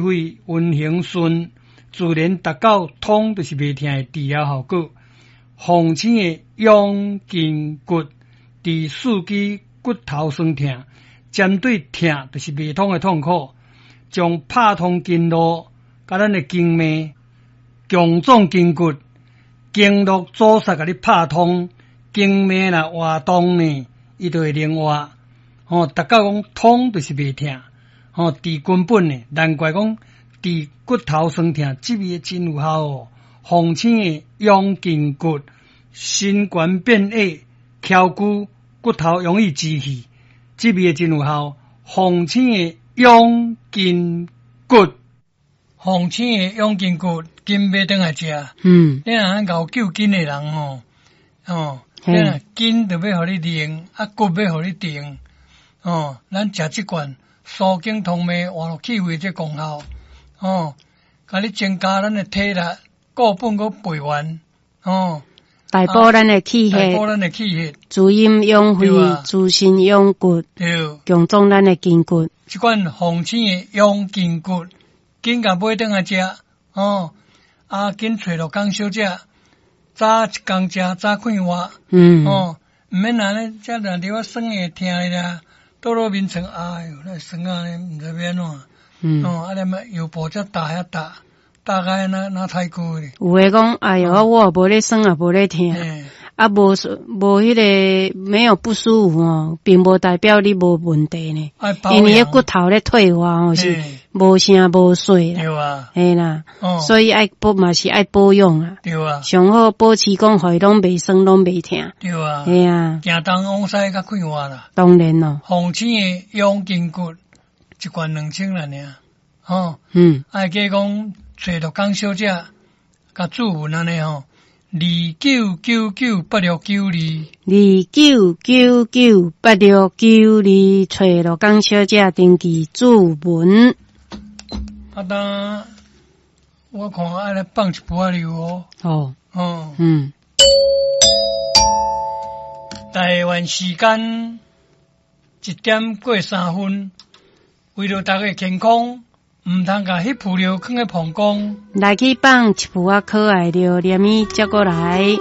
血運行順，自然達到通就是袂疼的治療效果。鳳青的養筋骨，治四肢骨頭痠疼，針對疼就是袂通的痛苦，將拍通經絡，佮咱的經脈，強壯筋骨，經絡阻塞共你拍通，經脈若活動呢，伊就會靈活。吼，達到講通就是袂疼，吼，治根本的，難怪講治骨頭痠疼，這味真有效哦。鳳青的養筋骨，身懸變矮，翹骨骨頭容易支氣，這味真有效。鳳青的養筋骨，鳳青的養筋骨，緊買轉來食。你若𠢕救筋的人吼，哦，你若筋著欲予你靈，啊骨欲予你定，哦，咱食這罐舒筋通脈活絡氣血這功效，哦，共你增加咱的體力。固本閣培元，哦，大補咱的氣血，大補咱的氣血，滋陰養肺，滋身養骨，強壯咱的筋骨。這款鳳青的養筋骨，緊共買轉來食，哦，啊，緊揣陸江小姐，早一工食，早快活，哦，毋免按呢，這若佇我酸會疼的啦，倒落眠床，哎喲，那酸啊，毋知欲按怎，哦，啊，連腰部遮大遐大。大概那那太久咧。有的講，哎喲，我也無咧酸，也無咧疼，啊，無無彼個沒有不舒服哦，並無代表你無問題呢。因為彼骨頭咧退化吼是無聲無息啦。嘿啦，所以愛保嘛是愛保養啊。上好保持講，予伊攏袂酸，攏袂疼。嘿啊。行東往西較快活啦。當然咯。鳳青的養筋骨，一罐2000啦爾，吼。愛記講。揣陸江小姐，佮注文按呢吼，29998692，29998692，揣陸江小姐登記注文。啊，當我看愛來放一晡仔尿哦。哦。哦。台灣時間1點過3分，為著大家健康。毋通共彼浡尿囥咧膀胱。來去放一晡仔可愛尿，連伊接過來。